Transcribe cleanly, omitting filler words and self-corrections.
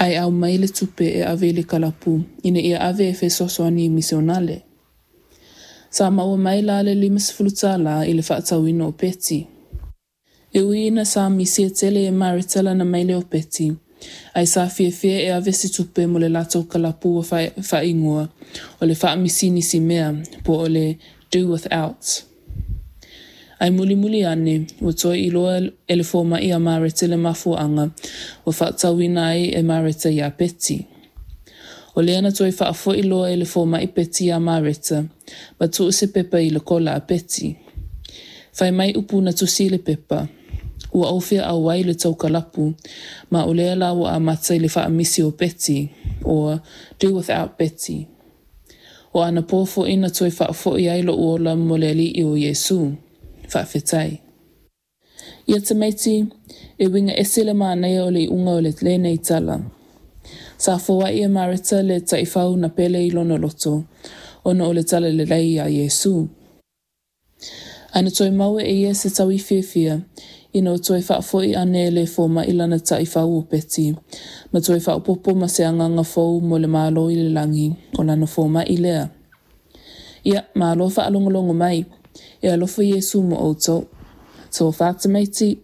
Ae aumai le tupe e ave i le kalapu ina ia ave e fesoasoani i misionale. Sa maua mai la le 50 tālā i le faatauina o peti. E ui ina sa misia tele e Mareta lana maile o peti, ae sa fiafia e ave se tupe mo le latou kalapu ua faaigoa o le Faamisinisī Mea po o le Do Without. Ae mulimuli ane, ua toe iloa e le fomai a Mareta le mafuaaga ua faatauina ai e Mareta iā Peti. O lea na toe faafoi loa e le fomai peti iā Mareta ma tuu se pepa i le kola a Peti. Fai mai upu na tusi i le pepa, Ua ou fia auai i le tou kalapu, ma o lea la ua amata i le faamisi o peti, or Do Without Peti. O anapo foi na toe faafoi ai lo'u ola mo le Alii o Iesu. Faafetai. Ia tamaiti, e uiga ese le manaia o le iuga o lenei tala. Sa foai e Mareta le taifau na pele i lona loto, ona o le talalelei a Iesu. Ae na toe maua e ia se taui fiafia, ina ua toe faafoi ane e le fomai lana taifau o Peti, ma toe faaopoopo ma se agaga fou mo le Malo i le lagi, o lana fomai lea. Ia, malo faalogologo mai. E alofa Iesu mo outou. Tofa tamaiti.